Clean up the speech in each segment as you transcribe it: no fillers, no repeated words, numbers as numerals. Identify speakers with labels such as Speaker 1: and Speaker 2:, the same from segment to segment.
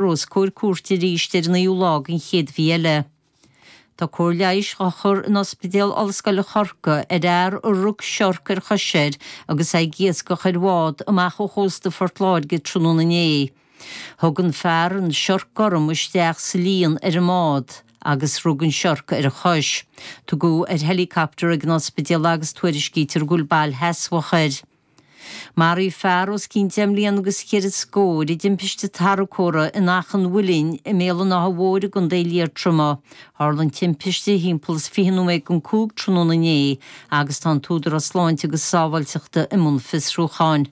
Speaker 1: Os comhair cúirte arís ar an 9ú lá den chéad mhí eile. Tá cóir leighis á chur in Ospidéal Ollscoile Chorcaí ar fhear a rug siorc ar chois air agus é ag iascach ar bhád amach ó chósta Phort Láirge tráthnóna inné. Thug an fear an siorc gorm isteach sa líon ar an mbád agus rug an siorc ar a chois. Tugadh ar helicopter ag an ospidéal é agus tuairiscítear go bhfuil bail sheasmhach air. Maraíodh fear os cionn deich mbliana agus cheithre scór i dtimpiste tarracóra in Achadh an Mhuilinn i mBéal an Átha Mhóir i gContae Liatroma. Tharla an timpiste thimpeall is 20 nóiméad don 5 tráthnóna inné agus tá an tÚdarás Sláinte agus Sábháilteachta i mbun fiosrúcháin.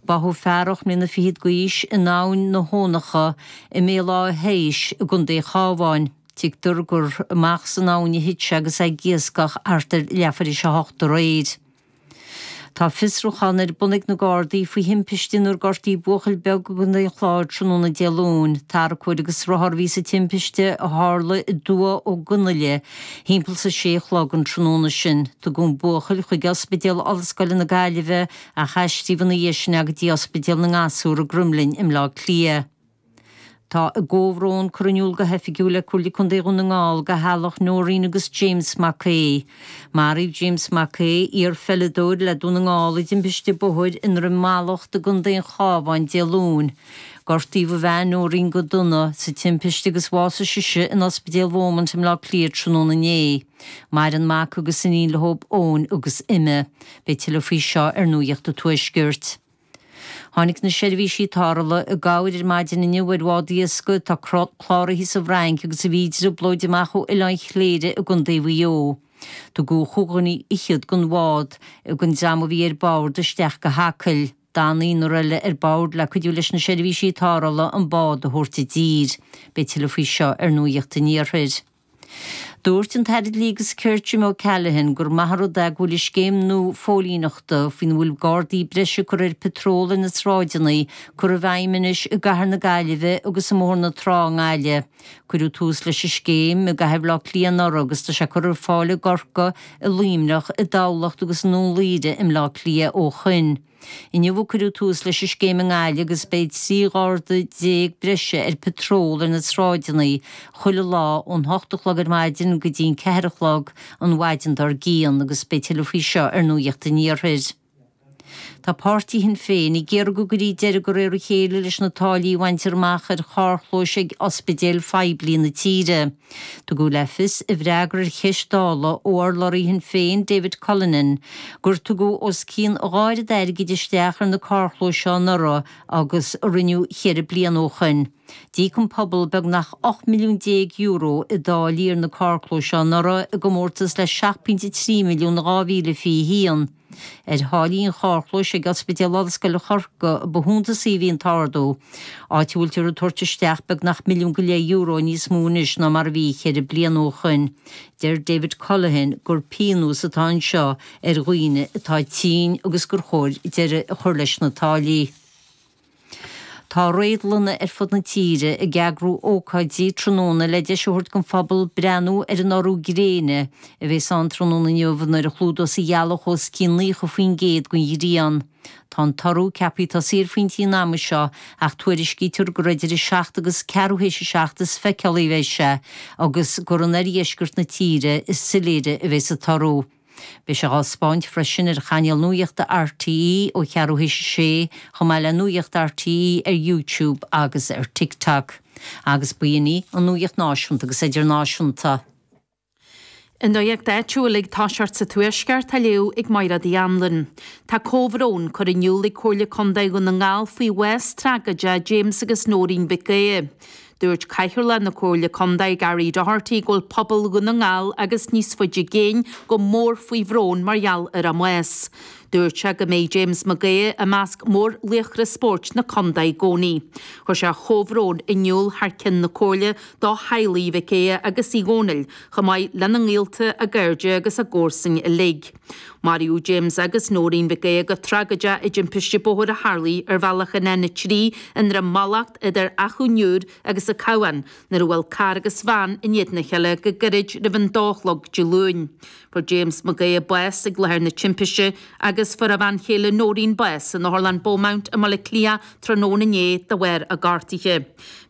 Speaker 1: Báthadh fear 8 mbliana fichead d'aois in Abhainn na hEonacha i mBéal Átha hÉis i gContae an Chabháin. Tuigtear gur amach san abhainn a thit sé agus é ag iascach thart ar leathuair théis a hocht aréir. Tá fiosrúchán ar bun ag na Gardaí faoi thimpiste inar gortaíodh buachaill beag i gContae an Chláir tráthnóna Dé Luain. Tarracóir agus rothar a bhí sa timpiste a tharla i dTuath Ó gConaile thimpeall is a sé a chlog an tráthnóna sin. Tugadh an buachaill chuig Ospidéal Ollscoile na Gaillimhe ach aistríodh ina dhiaidh sin é go dtí Ospidéal na nGasúr i gCroimlinn i mBleá Cliath. Tá a gcomhbhrón curtha in iúl go hoifigiúil ag Comhairle Contae Dhún na nGall do theaghlach Noreen agus James Mac Aoidh. Maraíodh James Mac Aoidh, iar-pheileadóir le Dún na nGall i dtimpiste bóthair i nDroim Mallacht i gContae an Chabháin Dé Luain. Gortaíodh a bhean Noreen go dona sa timpiste agus bhásaigh sise in Ospidéal Beaumont i mBleá Cliath tráthnóna inné. Maireann mac agus iníon leo, Eoin agus Emma. Beidh tuilleadh faoi seo ar Nuacht an Tuaiscirt. Tháinig na seirbhísí tarrthála i gcabhair ar maidin inniu ar bhád iascaigh atá cláraithe sa bhFrainc agus a bhí i dtrioblóid amach ó Oileán Chléire i gContae Mhaigh Eo. Tugadh chúig dhuine fhichead den bhád den dream a bhí ar bord isteach go hAcaill. D'fhan naonúr eile ar bord le cuidiú leis na seirbhísí tarrthála an bád a thabhairt i dtír. Beidh tuilleadh faoi seo ar Nuacht an Iarthair. Dúirt an tAire Dlí agus Cirt Jim O'Callaghan gur maith an rud é go bhfuil an scéim nua phóilíneachta, faoina bhfuil gardaí breise curtha ar patról ar na sráideanna, curtha i bhfeidhm anois i gcathair na Gaillimhe agus i mBóthar na Trá i nGaillimh. Cuireadh tús leis an scéim i gcathair Bhaile Átha Cliath anuraidh agus tá sé curtha ar fáil i gCorcaigh, i Luimneach, i dTamhlacht agus i nDún Laoghaire i mBleá Cliath ó shoin. Inniu a cuireadh tús leis an scéim i nGaillimh agus beidh 13 gharda breise ar patról ar na sráideanna chuile lá ón hocht a chlog ar maidin go dtí an ceathair a chlog an mhaidin dár gcionn agus beidh tuilleadh faoi seo ar Nuacht an Iarthair. Tá páirtí Shinn Féin ag iarraidh go gcuirfí deireadh de réir a chéile leis na táillí a bhaintear amach ar charrchlóis ag ospidéil phoiblí na tíre. Tugadh le fios i bhfreagra ar cheist Dála ó urlabhraí Shinn Féin, David Cullinane, gur tugadh os cionn a dhá oiread airgid isteach ar na carrchlóis seo anuraidh agus a rinneadh cheithre bliana ó shoin. D'íoc an pobal beagnach €18 milliún i dtáillí ar na carrchlóis seo anuraidh i gcomórtas le 7.3 milliún in 2021. Ar tháillí an charrchlóis ag Ospidéal Ollscoile Chorcaí ba shuntasaí a bhí an t-ardú, áit a bhfuiltear ag tabhairt isteach beagnach €1.5 milliún níos mó anois ná mar a bhí cheithre bliana ó shoin. Deir David Cullinane gur pionós atá anseo ar dhaoine atá tinn agus gur chóir deireadh a chur leis na táillí. Tá réadlanna ar fud na tíre ag eagrú ócáidí tráthnóna le deis a thabhairt don phobal breathnú ar an urú gréine a bheas ann tráthnóna inniu nuair a chlúdós an ghealach os cionn 90% den ghrian. Tá an t-urú ceaptha tosaí ar phointí an ama seo ach tuairiscítear gur idir 7 agus ceathrú théis a 7 is feiceálaí a bheidh sé agus gur in oirdheisceart na tíre is soiléire a bheas an t-urú. Beidh sé á spáint freisin ar chainéal nuachta RTÉ ó cheathrú théis a sé, chomh maith le Nuacht RTÉ ar YouTube agus ar TikTok. Agus b'in í an nuacht náisiúnta agus idirnáisiúnta.
Speaker 2: An nuacht áitiúil ag toiseacht sa Tuaisceart á léamh ag Mairéad Uí Anluain. Tá comhbhrón curtha in iúl ag Comhairle Contae Dhún na nGall faoi bhás tragóideach James agus Nóirín Mhic Aodha. Dúirt Cathaoirleach na Comhairle Contae Gary Doherty go bhfuil pobal Dhún na nGall agus níos faide i gcéin go mór faoi bhrón mar gheall ar a mbás. Dúirt sé go mbeidh James Mac Aodha i measc mórlaochra spóirt na contae i gcónaí. Chuir sé a chomhbhrón in iúl thar cionn na Comhairle do theaghlaigh Mhic Aodha agus Uí Dhónaill, chomh maith lena ngaolta, a gcairde agus a gcomharsain uilig. Maraíodh James agus Nóirín Mhic Aodha go tragóideach i dtimpiste bóthair a tharlaigh ar bhealach an N3 i nDroim Mallacht idir Achadh an Iúir agus an Cabhán nuair a bhuail carr agus veain in éadan a chéile go gairid roimh an dó a chlog Dé Luain. Fuair James Mac Aodha bás ag láthair na timpiste agus. agus fuair a bhean chéile Noreen bás in Otharlann Beaumont i mBaile Átha Cliath tráthnóna inné de bharr a gortuithe.